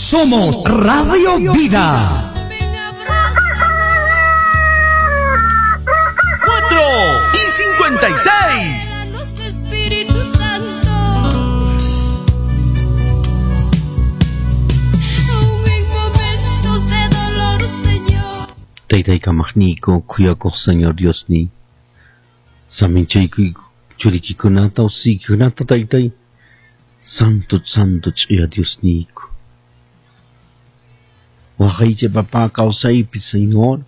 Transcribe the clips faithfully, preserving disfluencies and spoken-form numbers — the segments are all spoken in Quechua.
Somos Radio Vida. cuatro y cincuenta y seis. Espíritu Santo, aun en momentos de dolor, Señor. Taytay kamaqniyku khuyakuq Señor Diosniy. Saminchaykuy churikikunata usiykikunata taytay. Santo, santo ch'uya Diosniyku. Waqaychay papá kawsaypi, Señor.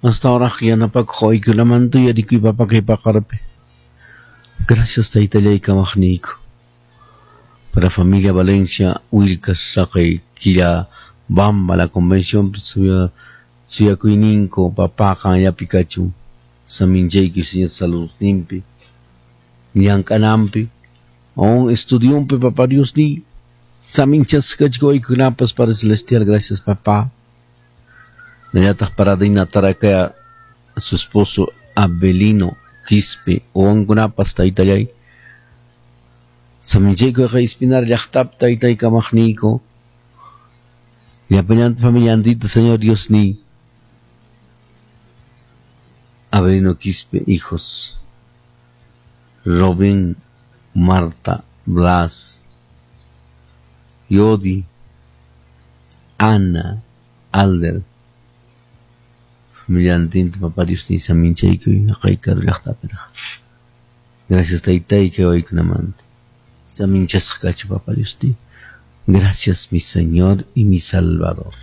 Hasta ahora yanapakuq waykulamanta uyarikuy papá kay paqarpi. Gracias taytallay kamaqniyku. Para familia Valencia, Wilcas, Saqay, Quilla, Bamba, la convención, suya, suyakuyninko, papá, qanllapi kachun. Saminchayku, Señor, salud nimpi. Llank'anampi. Aún estudiumpi, papá Dios ni. Saminchasqachku waykunapas para celestial, gracias papá. Nallataq para Dina Tarakaya, su esposo Abelino Quispe, wawankunapas taytallay. Saminchayku Espinar llaqtap taytay kamaqniyku. Llapallanta familiantita, Señor Dios ni. Abelino Quispe, hijos. Robin, Marta, Blas, Yodi, Ana, Alder. Familiantinta, papá Dios ni saminchaykuy, aqaykaru llaqtapiraq. Gracias taytay kay waykunamanta. Saminchasqa kachu, papá Dios ni. Gracias mi Señor y mi Salvador.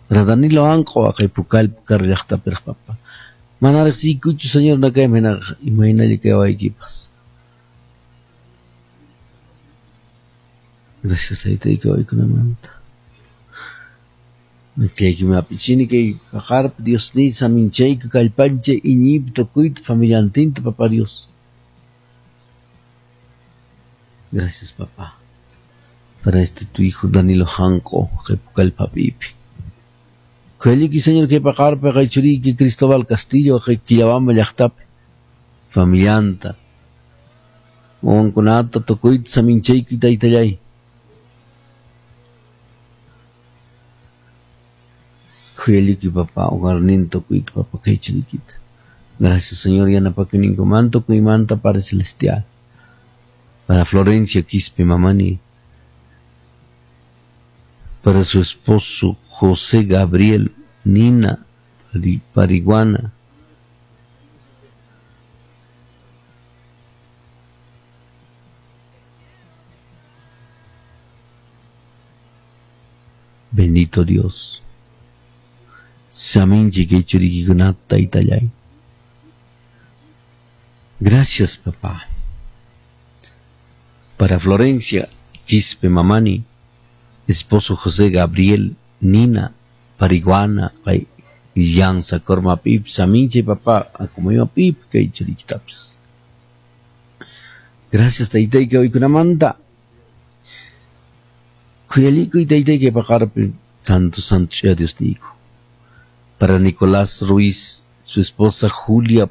Para Danilo Anqo, aqay pukal pukar llaqtapiraq, papá. Mana riqsiykuchu, Señor, nakaymi hinaqa imaynalla kay waykipas. Gracias taytay kay waykunamanta. Makiyki apichini kay paqarpi Dios ni saminchayku kallpanchay iñiypi tukuyta familiantinta, papá Dios. Gracias, papá. Para este tu hijo Danilo Janco, kay pukalpapipi. Khuyalliki, Señor, kay paqarpi kay churiyki Cristóbal Castillo, kay Quillabamba llaqtapi. Familianta. Wawankunata tukuyta saminchayku taytallay. Khuyalliki, papá, hogarninta tukuyta, papá, kay churiykita. Gracias, Señor, yanapakuyninkumanta tukuymanta, Padre Celestial. Para Florencia Quispe Mamani. Para su esposo José Gabriel Nina Pariguana. Bendito Dios. Saminchi kay churikikunata taytallay. Gracias, papá. Para Florencia Quispe Mamani, esposo José Gabriel Nina Pariguana, pay Llanza Corma Pip, Saminche papá, como iba Pip, kay churikitabs. Gracias taytay kay waykunamanta. Khuyallikuy taytay kay paqarpi, santo santo sea Dios digo. Para Nicolás Ruiz, su esposa Julia